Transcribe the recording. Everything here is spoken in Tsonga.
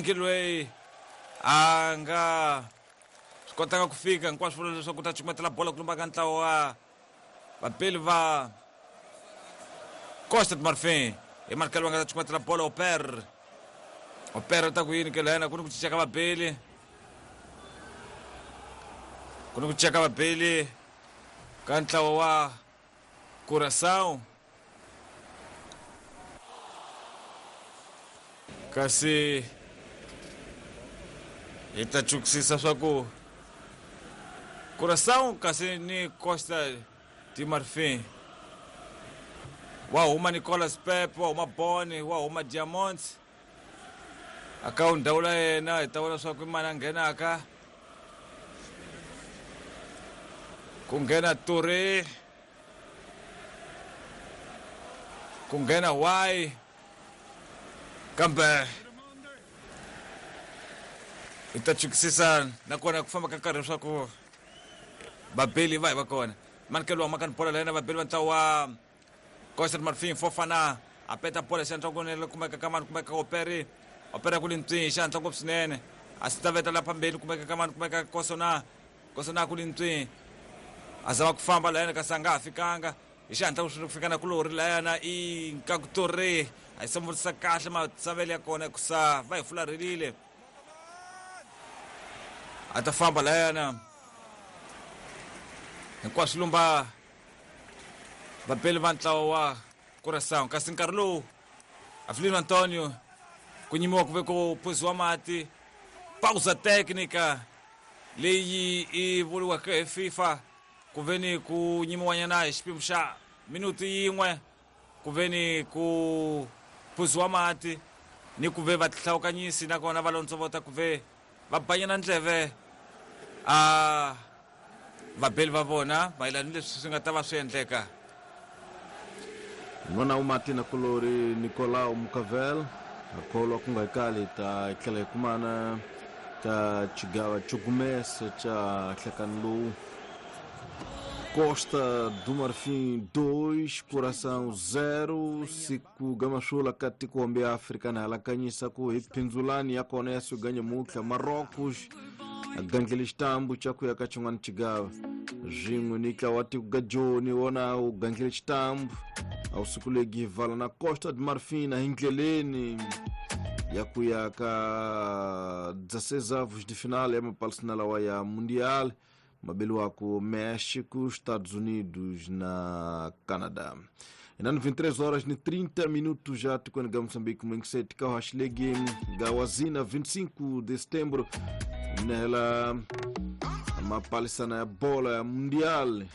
Loyi a nga swi kotanga ku fika hinkwaswo vula leswaku ta cukumetela bola ku lumba ka ntlawa wa vapeli va Costa de Marfin. Hi Markel va nga ta cukumetela bola. Oper, Oper ta ku yini ke lena? Ku ni ku cinca ka vabeli, ku ni ku cinca ka vabeli ka ntlawa wa Curaçao, kasi hi ta chukisisa swa ku Curaçao kasi ni Costa de Marfin. Wa huma Nicolas Pepe, wa huma Boni, wa huma Diamonds aka ndhawu la yena. Hi ta vona swa ku i mani a nghenaka. Ku nghena Toure, ku nghena Y, kambe hi ta chukisisa nakona ku famba ka nkarhi leswaku vabeli va hi va kona. Manikelo wa makani bola la yena vabeli va ntlawa wa Costa de Marfin. Fofana a peta bola xihatla kunene, kumeka ka mani? Kumeka Operi. Opera ku li ntswi xihatla ngopfu swinene, a swi ta veta la phambeni. Kumeka ka mani? Kumeka Kosona. Kosona ku li ntswi, a zama ku famba layana, kasi a nga ha fikanga hi xihatla ku fika na kulori layana. I Nkakutori a yi samurisa kahle matsavelo ya kona kusa va hi fularhelile. A ta famba layana hinkwaswo lumba vapeli va ntlawa wa Curaçao, kasi nkarhi lowu Avelino Antonio ku nyimiwa ku ve ku phuziwa mati. Pausa técnica leyi i vuriwaka hi FIFA, ku ve ni ku nyimiwanyana hi xipimo xa minuti yin'we, ku ve ni ku phuziwa mati ni ku ve va tihlawukanyisi, nakona va londzovota ku ve va banyana ndleve a vabeli va vona mayelana ni leswi swi nga ta va swi endleka. N'wana wa Martin kulori Nicolau Mucavel a kholwa ku nga kali ta tlhela hi kumana ka xigava xo gumesa xa nhlekani lowu. Costa do Marfim 2, Curaçao 0. Siku gamasula ka tikombe ya Afrika na halakanyisa ku hi phindzulani ya kona ya suganya mutlha. Marocos a gandlele xitambu xa ku ya ka xin'wana xigava swin'we ni ntlawa wa tiko ga Joni wona wu gandlele xitambu a wu siku legi vala na Costa de Marfin hi ndleleni ya ku ya ka 16 avos de final ya mapalisina lawa ya Mundial mabeliwako México, Estados Unidos na Canadá. Inani 23 horas ni 30 minutos já tikweni ga Moçambique mwengiseti ka haxilegi ga wazina 25 de setembro nela mapalisana ya bola ya Mundial.